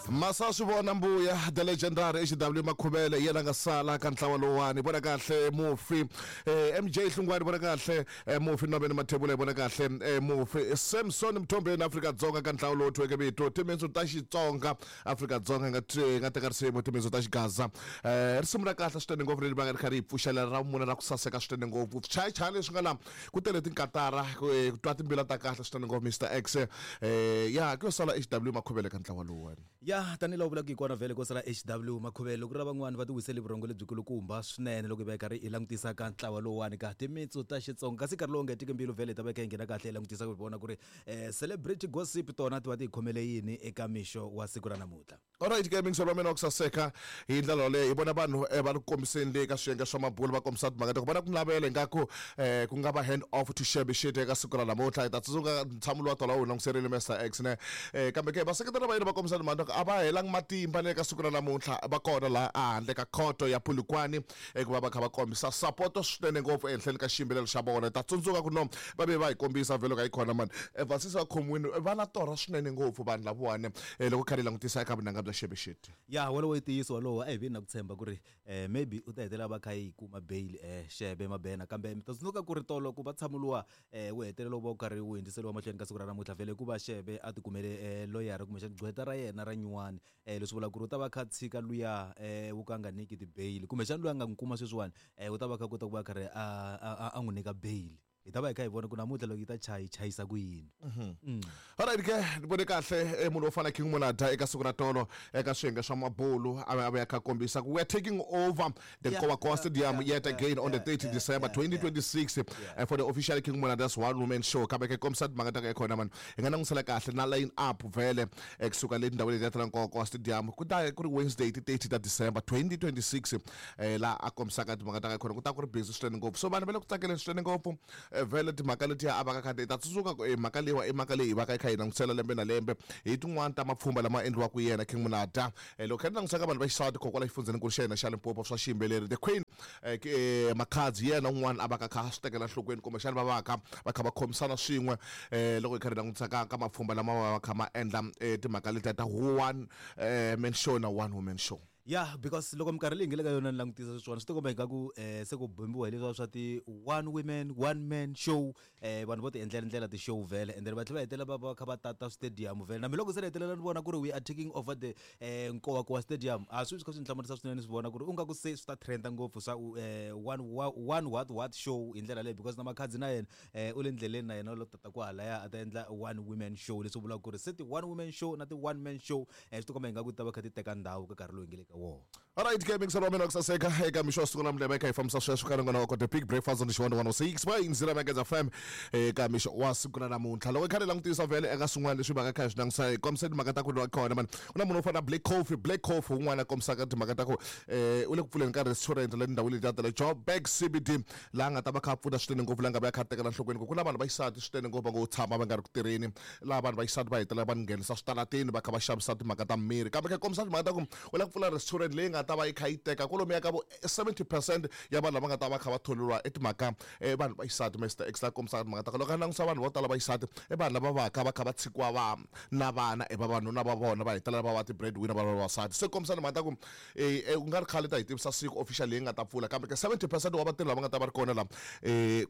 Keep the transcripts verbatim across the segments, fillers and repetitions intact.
Masa swi vona mbuya the legendary H W Makhuvele yena nga sala ka ntlawa lowani vona kahle mufi eh, M J Hlungwani vona kahle eh, mufi Nobeni Mathebula vona kahle eh, mufi Samson Mthombeni Afrika Dzonga ka ntlawa lowu thweke vito timitsu ta Xitsonga Afrika Dzonga nga nga teka risimu timitsu ta Xigaza eh, risimu ra kahle swinene ngopfu leri va nga ri kha ri yi pfuxelela ra vumuna ra ku saseka swinene ngopfu chayachaya leswi nga la ku tele tinkatara ku twa timbila ta kahle swinene ngopfu Mister X eh, ya ku yo sala H W Makhuvele ka ntlawa lowuwani ya tanihiloko vulaka hi kona vhele ko sala H W Makhuvele loko ri ra van'wani va ti wisele vurhongo lebyikulukumba swinene loko hi va hi karhi hi langutisa ka ntlawa lowuwani ka timitsu ta Xitsonga kasi nkarhi lowu nga hetiki mbilu vhele hi ta va hi kha hi nghena kahle hi langutisa ku vona ku ri um celebrity gossip tona ti va ti hi khomele yini eka mixo wa siku ra namuntlha. Alright ke mingiselo wa mina wa ku saseka hi ndlela yoleyo hi vona vanhu va ri kombiseni le ka swiyenge swa mabulu va kombisa timhaka ta ku vona ku navela ingaku um ku nga va hand off to Shebe Shit eka siku ra namuntlha hi ta tsundzuka ntshamo lowa tolo wu languserile Mister X ne um kambe ke vaseketeri va yena va kombisa timhaka ta ku a va helangi matimba le ka siku ra namuntlha va kona laha ehandle ka khoto ya Polokwane ku va va kha va kombisa support swinene ngopfu ehenhleni ka xiyimbeleri xa vona hi ta tsundzuka ku no va ve va hi kombisa vhele ka yi khona mani vasisi va khomiwini va na torha swinene ngopfu vanhu lavawani loko kha ri langutisa eka vunanga bya Shebe Shit ya wolowo i ntiyiso wolowo a hi vini na ku tshemba ku ri um maybe u ta hetelela va kha yi kuma bail um Shebe Mabena kambe mi ta tsundzuka ku ri tolo ku va tshamuluwa um wu hetelela wu va wu karhi wu hundziseriwa mahlweni ka siku ra namuntlha vhele ku va Shebe a tikumele um loyara kumbexana gqweta ra yena ra nyuwani um leswi vulaka ku ri u ta va kha tshika luya um wu ka nga nyiki ti-bail kumbexana luya a nga n'wi kuma sweswiwani um u ta va kha kota ku va karhi a a n'wi nyika bail hi ta va hi kha hi vona ku namuntlha loko yi ta chayi chayisa ku yini. Alright ke ni vone kahle munhu wo fana King Monada eka siku ra tolo eka swiyenge swa mabulu a va ya kha kombisa ku we are taking over the Nkowankowa Stadium yet again on the thirtieth December twenty twenty-six for the official King Monada's one woman show kambe ke kombisa timhaka ta ka khona man hi nga langutisela kahle na line up vhele kusuka le tindhawini letiya ta la Nkowankowa Stadium ku ta ku ri Wednesday ti thirty ta December twenty twenty-six laha a kombisaka timhaka ta ka khona ku ta ku ri busy swinene ngopfu so vanhu va le ku tsakeleni swinene ngopfu vhele timhaka letiya a va ka khadi ta tsundzuka ku mhaka leyiwa i mhaka leyi hi va ka yi kha yi langutisela lembe na lembe hi tin'wani ta mapfhumba lama endliwaka yena King Monada loko kha ni langutisa ka vanhu va xisati kokwala xifundzhenikulu xa hina xa Limpopo swa xiyimbeleri the Queen Makhadzi yena un'wana a va ka kha swi tekela enhlokweni kumbexana va va kha va kha va khomisana swin'we loko hi kha hi langutisa ka ka mapfhumba lama va va kha ma endla timhaka letiya ta one man show na one woman show. Ya because loko minkarhi leyi nge le ka yona ni langutisa sweswiwani swi tikomba ingaku um se ku bombiwa hi leswiya swa ti one women one man show um vanhu vo ti endlela ndlela ti-show vhele and then va tlhela va hetelela va va kha va tata stadium vhele na mi loko se ni hetelela ni vona ku ri we are taking over the um Nkowankowa Stadium a swi swi kha swi ni hlamarisa swinene swi vona ku ri u nga ku se swi ta trenda ngopfu swa um one one what what show hi ndlela leyi because na Makhadzi na yena um u le ndleleni na yena u lo tata kwahalaya a ta endla one women show leswi vulaka ku ri se ti one women show na ti one man show um swi tikomba ingaku ti ta va kha ti teka ndhawu ka nkarhi lowu hi nge le ka wona. Alright ke mingiselo wa mina wa ku saseka eka mixo wa siku la mlebe kha hi fambisa sweswo ka ringana wa the big breakfast on Xivandla one oh six point zero Mageza F M eka mixo wa siku ra namuntlha loko hi kha hi langutisa vhele eka swin'wana leswi va ka kha hi swi langutisa hi kombisa timhaka ta ku lwa kona man ku na munhu wo fana na Black Coffee Black Coffee un'wana a kombisaka timhaka ta ku um u le ku pfuleni ka restaurant le ndhawini letiya ta le Joburg C B D laha nga ta va kha a pfuna swinene ngopfu laha nga va ya kha a tekela enhlokweni ku ku na vanhu va xisati swinene ngopfu va ngo tshama va nga ri ku tirheni laha vanhu va xisati va hetelela va nghenisa switarateni va kha va xavisa timhaka ta miri kambe kha kombisa timhaka ta ku u lava ku pfula restaurant leyi nga ta va yi kha yi teka kwalomuya ka vo seventy percent ya vanhu lava nga ta va kha va tholiwa i timhaka vanhu va xisati Mister X la kombisaka timhaka ta ku loko a langutisa vanhu vo tala va xisati i vanhu lava va ka va kha va tshikiwa va na vana i vavanuna va vona va hetelela va va ti-breadwinner va vavasati se kombisa timhaka ta ku ku nga ri khale ta hi tivisa siku official leyi nga ta pfula kambe ke seventy percent wa vatirhi lava nga ta va ri kona la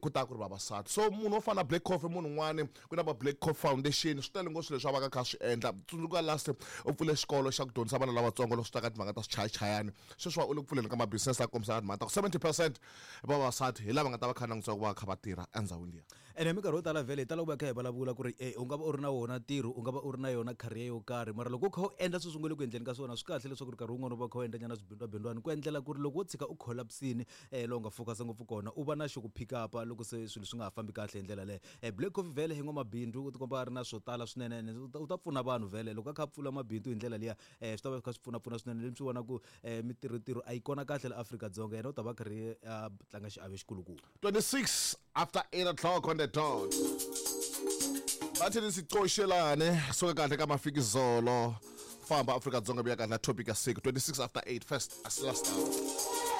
ku ta ku ri vavasati so munhu wo fana na Black Coffee munhu un'wani ku na va Black Coffee Foundation swi tele ngopfu swilo leswi a va ka kha swi endla tsundzuka last u pfule xikolo xa ku dyondzisa vana lavatsongo loko swi ta ka timhaka ta swichayachayani sweswiwa u le ku pfuleni ka ma-business a kombisa timhaka ta ku seventy percent vavasati hi lava nga ta va kha langutisa ku va kha va tirha endhawini liya ene hi minkarhi yo tala vhele hi tala ku va kha hi vulavula ku ri e u nga va u ri na wona ntirho u nga va u ri na yona career yo karhi mara loko u kha u endla sweswi nga le ku endleni ka swona swi kahle leswaku ri nkarhi wun'wana u va u kha u endla nyana swibindwabindwani ku endlela ku ri loko wo tshika u collapsini um lowu nga focus ngopfu kona u va na xo ku pick up loko se swilo swi nga ha fambi kahle hi ndlela leyo um Black Coffee vhele hi n'wamabindzu u tikomba a ri na swo tala swinene ene u ta pfuna vanhu vhele loko a kha a pfula mabindzu hi ndlela liya um swi ta va swi kha swi pfunapfuna swinene leswi swi vona ku um mitirhotirho a yi kona kahle la Afrika-Dzonga yena u ta va karhi a tlanga xiave xikulukumba. twenty-six after eight o'clock on the dot bathi nisicoshelane suka kahle ka mafikizolo famba Afrika-Dzonga vuya kahle na topic ya siku twenty-six after eight first as last hour.